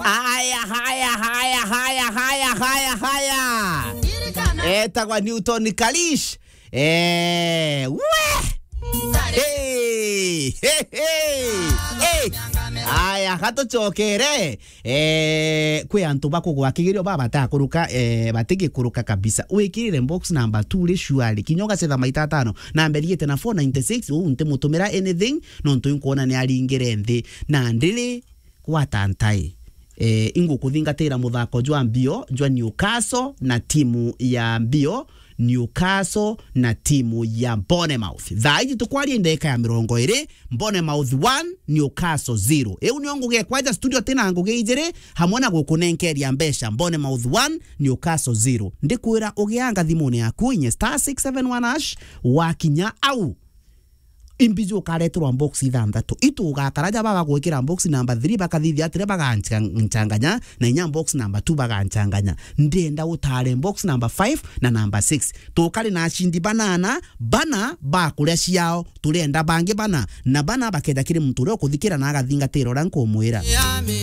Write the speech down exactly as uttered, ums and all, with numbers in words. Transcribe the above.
Haya, haya, haya, haya, haya, haya, haya. Etagwa Newton Kalish. Eh, we! Hey! Hey, hey! Hey! Aya, gatucokere. Eh, kwi antu bakugwa kigerio baba batakuruka, eh, batigikuruka kabisa. Wikirire box number two ri shuari. Kinya ugacetha maita atano. Na mberiite na four ninety-six, uu ntimutumira anything, nontu inkuona ni aringire nthi. Na ndiri gwata ntai. Eh, ingukuthingatira muthako jwa mbio jwa Newcastle na timu ya mbio Newcastle na timu ya Bournemouth. Thaa iji tukwaria ndagika ya mirongo iri, Bournemouth one, Newcastle zero. Iu nio ngugi ekwaja studio tina ngugi ijiri, hamwe na gukunenkeria mbeca, Bournemouth one, Newcastle zero. Ndikwira ugianga thimune yaku inye star six seven one hash, wakinya au imbiji ukareterwa box ithanthatu. Itu ugakara ja bagagwikira box number three, bakathithia atire baganchanganya, na inya box number two baganchanganya. Ndienda utare box number five na number six. Tukari na ashindi banana, bana bakuria ciao, turenda bangi bana, na bana bakeja kiri muntu uria ukuthikira na agathingatira uria nkumwira.